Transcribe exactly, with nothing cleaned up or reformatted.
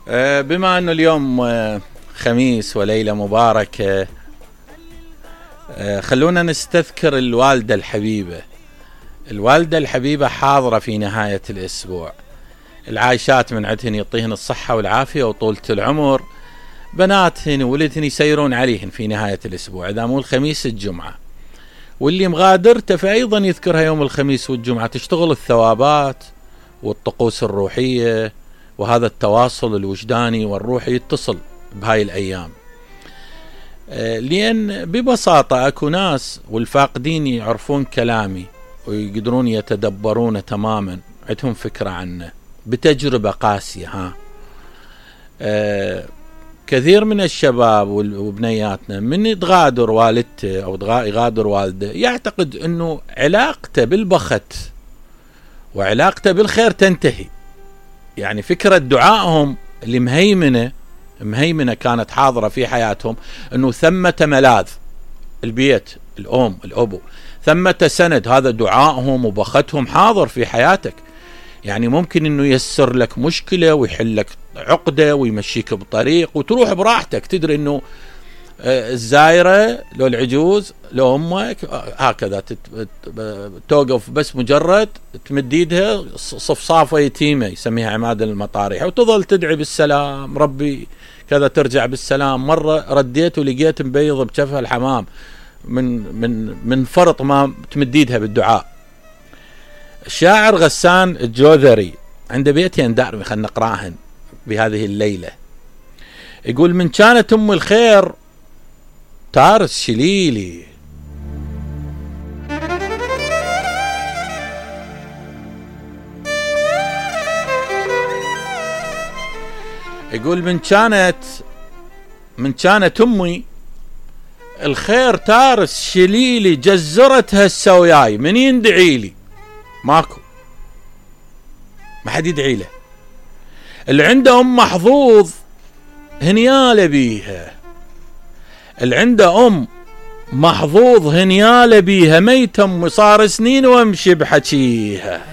آه، بما أنه اليوم آه، خميس وليلة مباركة، آه، خلونا نستذكر الوالدة الحبيبة. الوالدة الحبيبة حاضرة في نهاية الأسبوع. العايشات من عندهن يعطيهن الصحة والعافية وطولة العمر، بناتهن وولدهن يسيرون عليهن في نهاية الأسبوع، إذا مو الخميس الجمعة. واللي مغادرته فأيضا يذكرها يوم الخميس والجمعة، تشتغل الثوابات والطقوس الروحية، وهذا التواصل الوجداني والروحي يتصل بهاي الأيام. لأن ببساطة أكو ناس والفاقدين يعرفون كلامي ويقدرون يتدبرون تماما، عندهم فكرة عنه بتجربة قاسية. ها أه كثير من الشباب وبنياتنا من تغادر والدته أو يغادر والده يعتقد أنه علاقته بالبخت وعلاقته بالخير تنتهي. يعني فكرة دعائهم اللي مهيمنة مهيمنة كانت حاضرة في حياتهم أنه ثمة ملاذ، البيت، الأم، الأبو، ثمة سند. هذا دعائهم وبختهم حاضر في حياتك. يعني ممكن أنه ييسر لك مشكلة ويحل لك عقدة ويمشيك بطريق وتروح براحتك، تدري أنه الزايرة لو العجوز لو أمك هكذا توقف، بس مجرد تمد ايدها صفصافة يتيمة يسميها عماد المطاريح وتظل تدعي بالسلام، ربي كذا، ترجع بالسلام. مرة رديت ولقيت مبيض بجفها الحمام من من من فرط ما تمد ايدها بالدعاء. الشاعر غسان الجوذري عنده بيتين دارمي، خلنا نقراهن بهذه الليلة. يقول: من كانت أم الخير تارس شليلي، يقول من كانت من كانت أمي الخير تارس شليلي، جزرتها السوياي، من يندعي لي؟ ماكو، ما حد يدعي له. اللي عنده أم محظوظ هنياله بيها، اللي عنده أم محظوظ هنياله بيها، ميتم وصار سنين وامشي بحكيها.